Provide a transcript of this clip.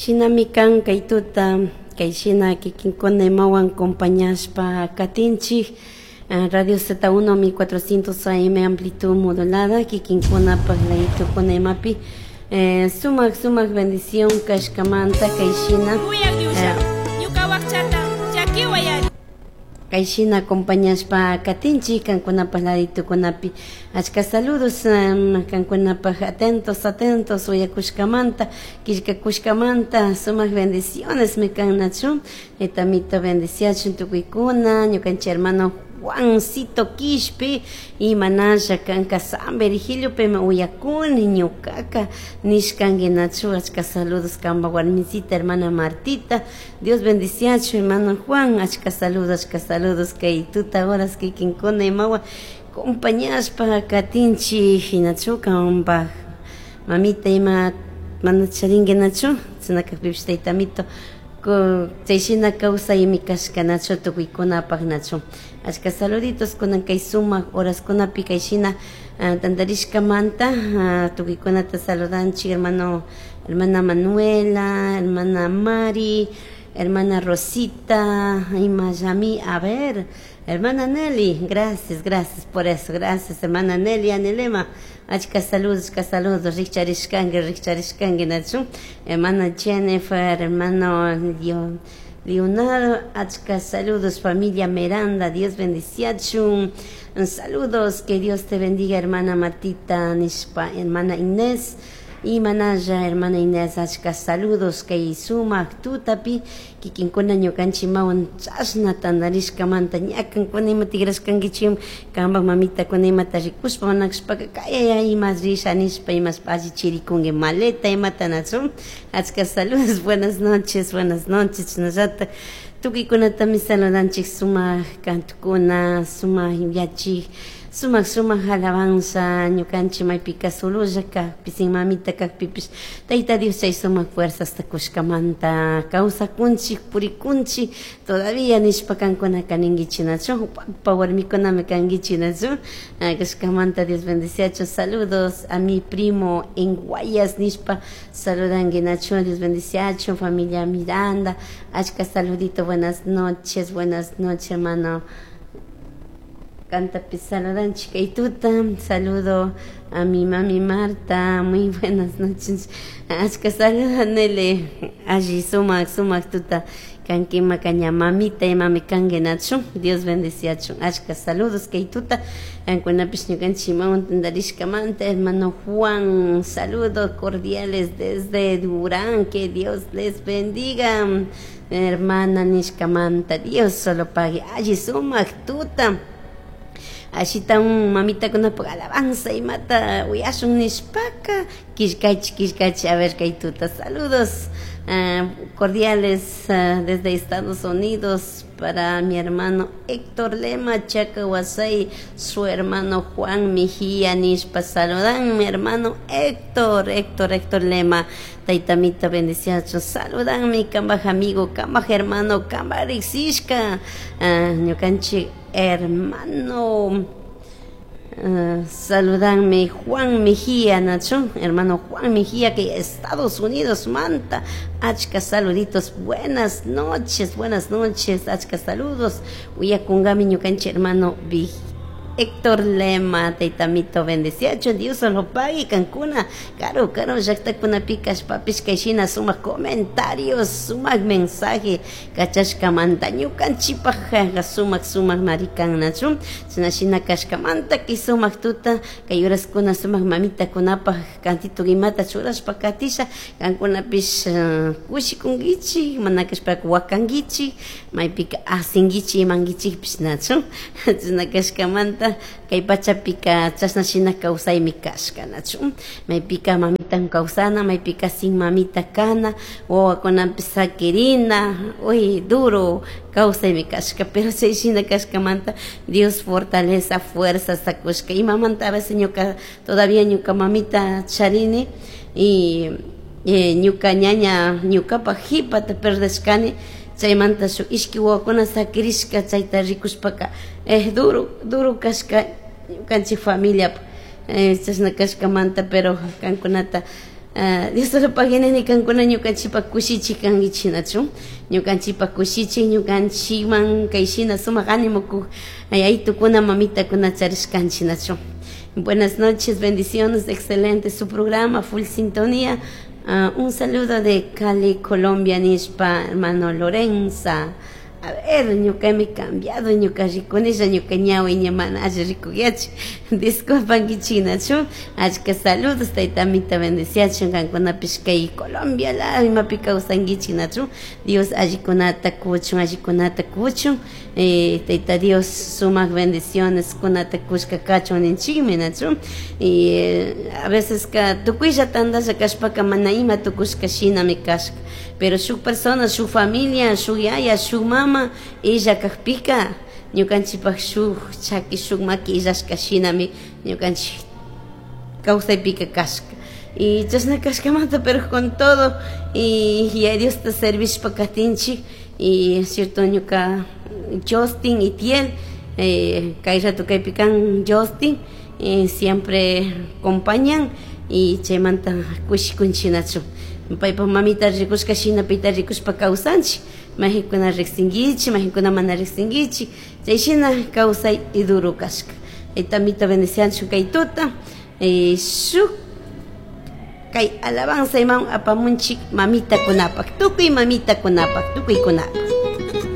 Shinami kan kay tuta kay shina kikinkuna imawan acompañashpa katinchik. Radio Z1 1400 AM amplitud modulada kikinkunapaj laytukuna imapi sumak sumak bendición kashkamanta kay shina kay shina acompañashpa katinchik kankunapaj laditukunapi. Achka saludos kankunapaj atentos atentos uyakushkamanta killkakushkamanta sumak bendiciones mi kan nachu etamito bendiciachun tukuykuna ñukanchik hermano Juancito Quishpe y manalla kanka San Virgilio peme uyakuni ñukaka nishkanki nachu achka saludos kamba warmisita hermana Martita. Dios bendiciachu hermano Juan achka saludos kay tuta horas kikinkuna imawa acompañashpa katinchik hinachu kanpaj mamita ima mana charinki nachu chinakakpipish taytamito chay shina kawsaymi kashka nachu tukuykunapaj nachu. Achka saluditos kunan kay sumak horaskunapi kay shina tantarishkamanta tukuykunata saludanchik hermano hermana Manuela, hermana Mari, hermana Rosita, ima Yami, a ver, hermana Nelly, gracias, gracias por eso, gracias hermana Nelly, Anelema, achka saludos, rikcharishkanki, rikcharishkanki nachu, hermana Jennifer, hermano Leonardo, achka saludos, familia Miranda, Dios bendiciachun, saludos, que Dios te bendiga, hermana Martita, nishpa, hermana Inés, y manalla, hermana Inés, achka saludos, kay sumak tutapi, kikinkuna ñukanchik mawan chashna tantarishkamanta ñakankuna ima tigrashkankichik kanpak mamitakuna imata rikushpa manakashpaka kayaya ima risha nishpa imashpa allichirikunki maleta imata nachu. Achka saludos, buenas noches, chashnallata tukuykunatami saludanchik sumak kantukuna, sumak yachik, sumak sumak alabanza ñukanchik maypika sololla kakpi sin mamita kakpipish Tayta Dios chay sumak fuerzasta kushkamanta kawsakunchik purikunchik todavía nishpa kankunaka ninkichik nachu papa warmikunami kankichik nachu kashkamanta Dios bendiciachu. Saludos a mi primo en Guayas nishpa saludanki nachu Dios bendiciachu familia Miranda. Achka saludito, buenas noches hermano. Canta saludan tuta, saludo a mi mami Marta, muy buenas noches. Achka saludan nele, allí sumak sumak tuta, kankima kaña mamita y mami kanki nachu, Dios bendiciachu. Achka saludos kay tuta, kankunapish ñukanchik imawan tantarishkamanta, hermano Juan, saludos cordiales desde Durán, que Dios les bendiga. Hermana nishkamanta, Dios solo pague, allí sumak tuta. Ashita un mamita con una alabanza y mata uyashun nishpaka kishkachi kishkachi a ver kay tuta. Saludos cordiales desde Estados Unidos para mi hermano Héctor Lema Chacahuasay, su hermano Juan Mejía nishpa saludan mi hermano Héctor, Héctor, Héctor Lema, taytamita bendiciacho, saludan mi kambaj amigo, kambaj hermano, kambaj riksishka, ñukanchik hermano, saludanme Juan Mejía, Nacho, hermano Juan Mejía, que Estados Unidos manta, achka saluditos, buenas noches, achka saludos, uyakungami ñukanchik hermano Héctor Lema, taytamito bendeciacho, Dios lo pague, kankuna, caro, caro, llaqtakuna kashpapish kay shina sumak comentarios, sumak mensaje, kachashkamanta, ñukanchikpaj sumak sumak marikan nachu, china shina kashkamanta, kay sumak tuta, kay horaskuna sumak mamitakunapaj kantito imata churashpa katisha, kankunapish kushikunkichik, mana kashpaka wakankichik, maypika asinkichik imankichikpish nachu, china kashkamanta, kay pachapika chashna shina kawsaymi kashka nachu, maypika mamitan kawsana, maypika sin mamita kana, wawakunapish sakirina, uy duro kawsaymi kashka, pero chay shina kashkamanta Dios fortaleza, fuerza sakushka, imamanta a veces ñuka todavía ñuka mamita charini y ñuka ñaña ñukapaj jipata perdeshkani, chaymanta shuk ishki wawakuna sakirishka chayta rikushpaka duro duro kashka ñukanchik familia chashna kashkamanta, pero kankunata Dios pagui kankuna ñukanchikpak kushichik kankichik nachu ñukanchikpak kushichik ñukanchikman kay shina sumak ánimo kuk yayitukuna mamitakuna charishkanchik nachu. Buenas noches, bendiciones, excelente su programa, full sintonía. Un saludo de Cali, Colombia, nishpa, hermano Lorenza. A ver, ñuka me cambiado, ñuka rikunilla, ñuka ñawi ña mana alli rikuyachi. Disculpankichik nachu. Achka saludos, tayta amita bendeciachun, kankunapish kay Colombia la imapi kawsankichik nachu. Dios allikunata kuchun, allikunata kuchun. Tayta Dios sumak bendiciones kunata kushka kachun ninchikmi nachu. Y a veces ka tukuylla tantalla kashpaka mana ima tukushka shinami kashka. Pero shuk persona, shuk familia, shuk yaya, shuk mama, illa kakpika ñukanchikpak shuk chaki, shuk maki illashka shinami ñukanchik kawsaypika kashka. Y chashna kashkamanta, pero con todo, y a Dios te servishpa katinchik, y cierto ñuka Justin y Tiel, kay rato kaypi kan Justin, siempre acompañan, y chaymanta kushikunchik nachu. Paypa mamita rikushka shina payta rikushpa kawsanchik, majikuna riqsinkichik, majikuna mana riqsinkichik, chay shina kawsay duro kashka. Tayta bendecianchu kay tuta, shuk kay alabanza iman apamunchik mamitakunapak, tukuy mamitakunapak, tukuykunapak.